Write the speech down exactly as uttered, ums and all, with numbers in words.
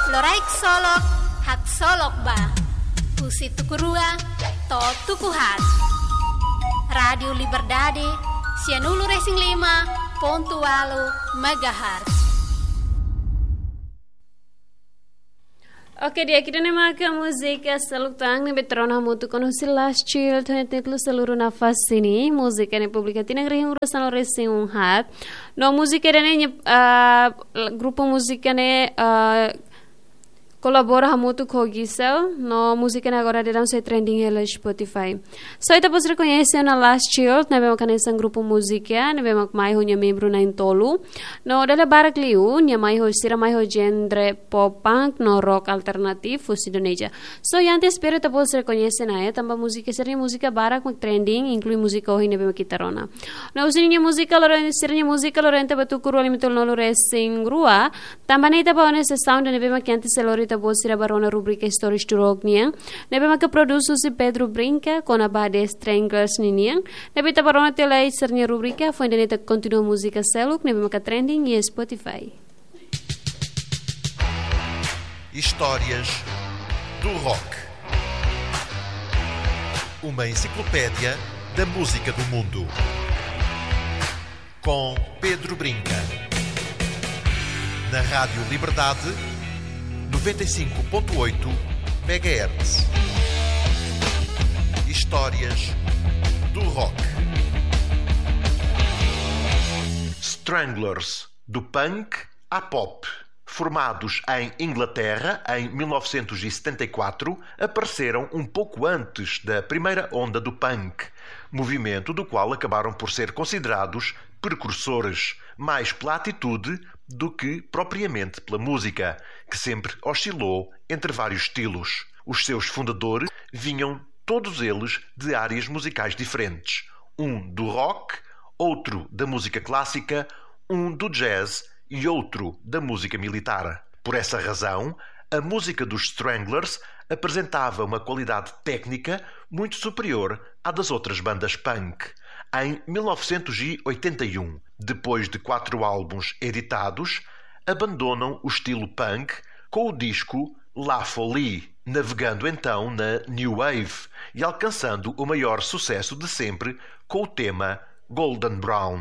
Loraik solok, haksolok ba. Husi tuku rua to'o tuku haat. Rádiu Liberdade, sianulu-resin-lima pontu ualu megahertz. Oke, di'ak, ida-ne'e maka múzika seluk tan ne'ebé ita rona hamutuk ona husi Last Child, ho títulu Seluruh Nafas Ini. Múzika ne'e publika tinan rihun rua sanulu-resin-haat. No múzika ida-ne'e, ah, grupu múzika ne'e, ah, kolabora hamutuk ho Gisel, no múzika ne'e agora daudaun sei trending hela Spotify. So ita-boot sira koñese ona Last Child, ne'ebé maka hanesan grupu múzika ne'ebé mak mai ho nia membru na'in-tolu. No dala barak liu, nia mai ho, sira mai ho genre pop punk no rock alternativu husi Indonézia. So, iha antes, espera ita-boot sira koñese ona, eh, tanba múzika, sira-nia múzika barak mak trending, inklui múzika ohin ne'ebé mak ita rona. No husi nia múzika loron, sira-nia múzika loron ita bá tuku rua lima tolu nulu-resin-rua, tanba ne'e ita bá ona sesaun ida-ne'ebé mak antes sei lori ita-boot sira bá rona rubrika Histórias do Rock nian, ne'ebé maka produs husi Pedro Brinca, kona-ba The Stranglers ninian, ne'ebé ita bá rona tiha lai sira-nia rubrika, foin ida-ne'e ita kontinua múzika seluk ne'ebé maka trending iha Spotify. Histórias do Rock. Uma enciclopédia da música do mundo. Com Pedro Brinca. Na Rádio Liberdade, noventa e cinco ponto oito megahertz. Histórias do Rock. Stranglers, do punk à pop. Formados em Inglaterra em mil novecentos e setenta e quatro, apareceram um pouco antes da primeira onda do punk, movimento do qual acabaram por ser considerados precursores, mais pela atitude do que propriamente pela música, que sempre oscilou entre vários estilos. Os seus fundadores vinham todos eles de áreas musicais diferentes, um do rock, outro da música clássica, um do jazz e outro da música militar. Por essa razão, a música dos Stranglers apresentava uma qualidade técnica muito superior à das outras bandas punk. Em mil novecentos e oitenta e um, depois de quatro álbuns editados, abandonam o estilo punk com o disco La Folie, navegando então na New Wave e alcançando o maior sucesso de sempre com o tema Golden Brown.